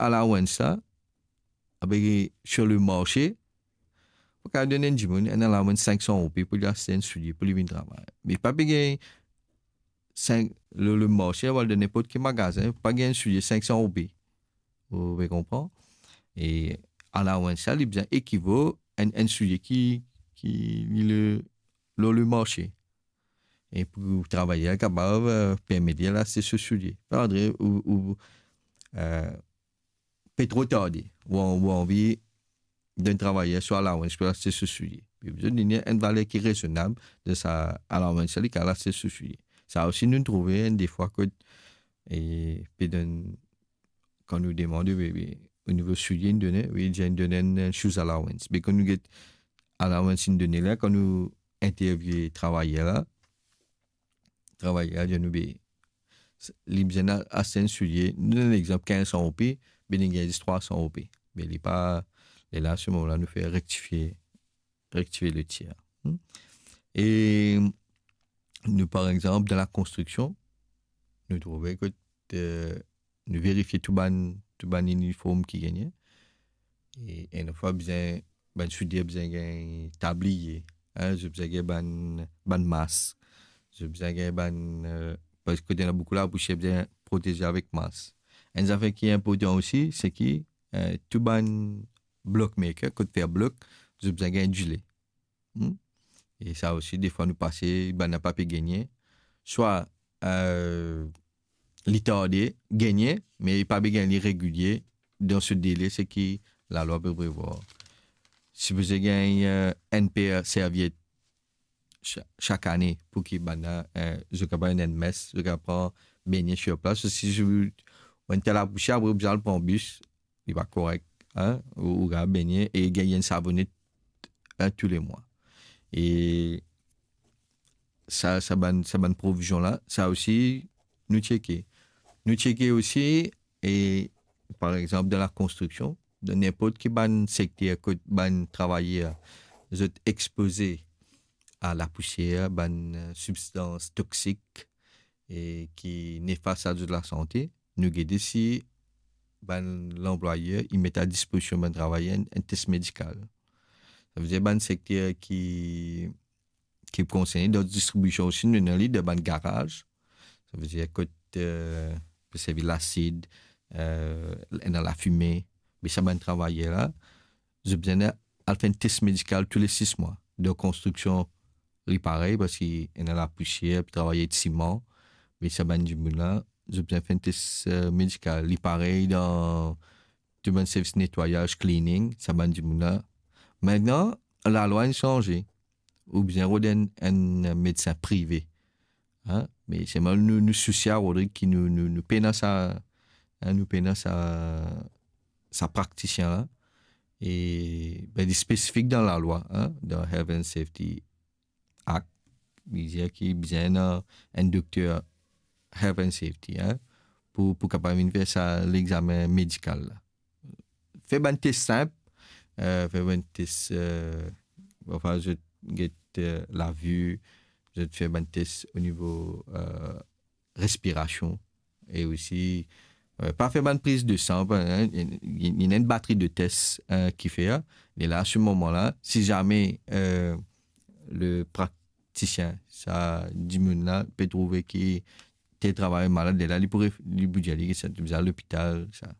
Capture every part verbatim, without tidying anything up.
allowance la, ape sur le marse, pou kapav donn enn dimoun enn allowance sink san roupi pou li aste enn soulie pou li vinn travay. Me pa pe gagn sink, le, le marse, ou al dan ninport ki magazin, pa gagn enn soulie sink san roupi. Ou pe konpran? E allowance sa, li bizin ekival enn, enn soulie ki, ki li le, lor le marse. E pou travayer kapav, eh, permet li al aste so soulie. Pa Andre, ou, ou, eh, pe tro tarde, ou, ou anvi donn travayer so allowance pou aste so soulie. Li bizin donn li enn valer ki rezonab de sa allowance, li kapav aste so soulie. Sa osi nou trouve enn defwa kot, e, pe donn, kan nou demande, wi, wi, o nivo soulie, nou donn, wi, li dir nou donn enn, enn shoes allowance. Me kan nou get allowance li donn la, kan nou interview travayer la, travayer la dir nou, be, li bizin al aste enn soulie, nou donn lexanp kinz san roupi, be li gagn zis trwa san roupi. Me li pa, e la, se moman la, nou fer rektifie, rektifie le tir. Hmm? E nou, par exanp, dan lakonstriksion, nou trouve kot, eh, nou verifie tou bann, tou bann iniform ki gagne. E enn fwa bizin, bann soulier bizin gagn tabliye, hein, zot bizin gagn bann, bann mas, zot bizin gagn bann, eh, parski kot ena boukou lapousier, bizin proteze avek mas. Enn zafer ki inportan osi, se ki, eh, tou bann block maker, kot fer blok, zot bizin gagn dile. Hmm? E sa osi, defwa nou pase, bann la pa pe gagne. Swa, eh, li tarde, gagne, me li pa pe gagn li regilie dan so dele, seki lalwa pe prevwar. Sipoze gagn, eh, enn per serviet sa-, sak ane pou ki bann la, eh, zot kapav enn mes, zot kapav bengne sur plas. Si zot, ou enn ta lapousier, apre ou bizin al pran bis, li pa korek, hein, ou, ou kapav bengne e gagn enn savonet, hein, toulemwa. E sa, sa bann, sa bann provizion la, sa osi, nou tcheke. Nou tcheke osi, e, par exanp, dan lakonstriksion, dan ninport ki bann sekter kot bann travayer, zot expoze a lapousier, bann, eh, sibstans toksik, e ki nefas a zot lasante, nou gete si bann lanplwayer, i met a dispozision bann travayer enn, enn tes medikal. Savedir bann sekter ki, ki konserne, dan distribision osi, nou ena li dan bann garaz. Savedir kot, eh, pe servi lasid, eh, ena lafime, me sa bann travayer la, zot bizin al fer enn tes medikal tou le sis mwa. Dan konstriksion, li parey, parski ena lapousier, pe travay siman, me sa bann dimoun la, zot bizin fer enn tes, eh, medikal. Li parey dan tou bann servis netwayaz, cleaning, sa bann dimoun la. Aster, lalwa inn sanze. Ou bizin rod enn, enn medsin prive. Hein? Me selman nou, nou sousie a Rodrig ki nou, nou, nou pena sa, hein, nou pena sa, sa praktisien la. E, be, li spesifik dan lalwa, hein, dan Health and Safety Act, li dir ki bizin ena enn dokter Health and Safety, hein, pou, pou kapav vinn fer sa lexamen medikal la. Fer bann tes sinp, eh, fer bann tes, eh, anfin, zot get, eh, lavi, zot fer bann tes o nivo, eh, respirasion, e osi, eh, pa fer bann priz de san, pa, hein, li, li ena enn batri de tes, eh, ki fer, e la, se moman la, si zame, eh, le praktisien, sa dimoun la, pe trouve ki tel travayer malad, lerla li pou ref-, li pou dir li ki sa, li bizin al lopital, sa.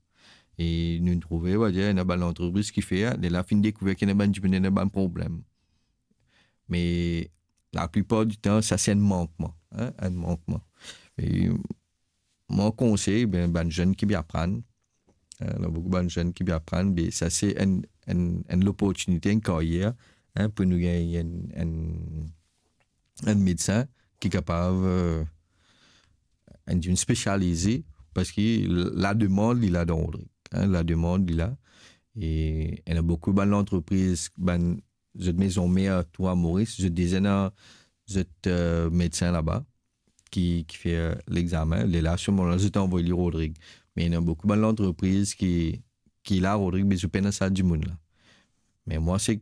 E nou trouve, on va dire, ena bann lantrepriz ki fer, lerla finn dekouver ki ena bann dimoun ena bann problem. Me laplipar ditan, sa se enn mankman, hein, enn mankman. E mo konsey, be, bann zenn ki pe aprann, hein, ena boukou bann zenn ki pe aprann, be, sa se enn, enn, enn loportinite, enn karyer, hein, pou nou gagn enn, enn, enn medsin ki kapav, eh, enn dimoun spesialize, parski lademand, li la dan Rodrig, hein, lademand, li la. E ena boukou bann lantrepriz, bann, zot mezon mer tou a Moris, zot deza ena zot, eh, medsin laba ki, ki fer lexamen. Lerla, se moman la, zot anvoy li Rodrig. Me ena boukou bann lantrepriz ki, ki la Rodrig, me zot pena sa dimoun la. Me mwa, se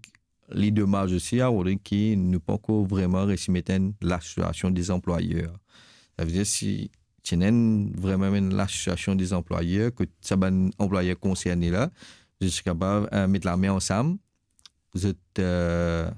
li domaz osi a Rodrig ki nou pankor vreman resi met enn lasosiasion de zanplwayer. Savedir si ti ena enn, vremem enn lasosiasion de zanplwayer, kot sa bann anplwayer konserne la, zot ti kapav, eh, met lame ansam, zot, eh,